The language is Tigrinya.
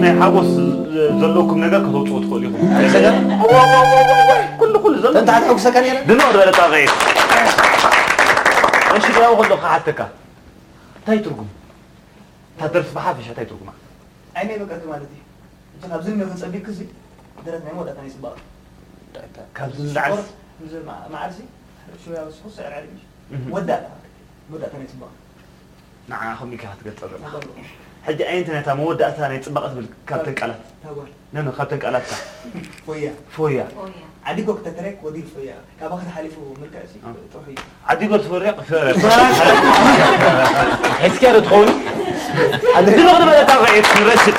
ናይ ሓጎስ ዘለኩም ነገር ከተውፅኡ ትኽእሉ ኢኹም። ሰገር ኩሉ ኩሉ ዘሎ እንተ ሓትሐጉሰካ ነረ ድንቕ ዝበለ ጣቕዒት። እሺ ዲያው ከሎ ክሓተካ እንታይ ትርጉም እታ ደርፊ ብሓፈሻ እንታይ ትርጉማ? ዓይነይ በቃ ማለት እዩ። እቲ ካብዚ ንዮ ክንጸቢክ እዚ ደረት ናይ መወዳእታ ናይ ጽባቐ። ካብዚ ንላዕሊ እዚ መዓልሲ ሽያ ወስኹ ስዕር ዓሊም ወዳእታ መወዳእታ ናይ ጽባቐ። ንዓ ከምኡ ኢልካ ክትገልጸ ዘለኻ። ሕጂ ኣየንቲ ነታ መወዳእታ ናይ ጽባቐ ትብል ካብተን ቃላት ታጓል ነነ ካብተን ቃላትካ ፎያ ፎያ ዓዲጎ ክተተረክ ወዲል ፎያ ካባኻ ተሓሊፉ ምልክዕ ሲ ጥሩሕ እዩ። ዓዲጎ ትፈርያ ሕዝኪያ ዶ ትኸውን? ድንቕ ዝበለ ጣቕዒት ንረሽድ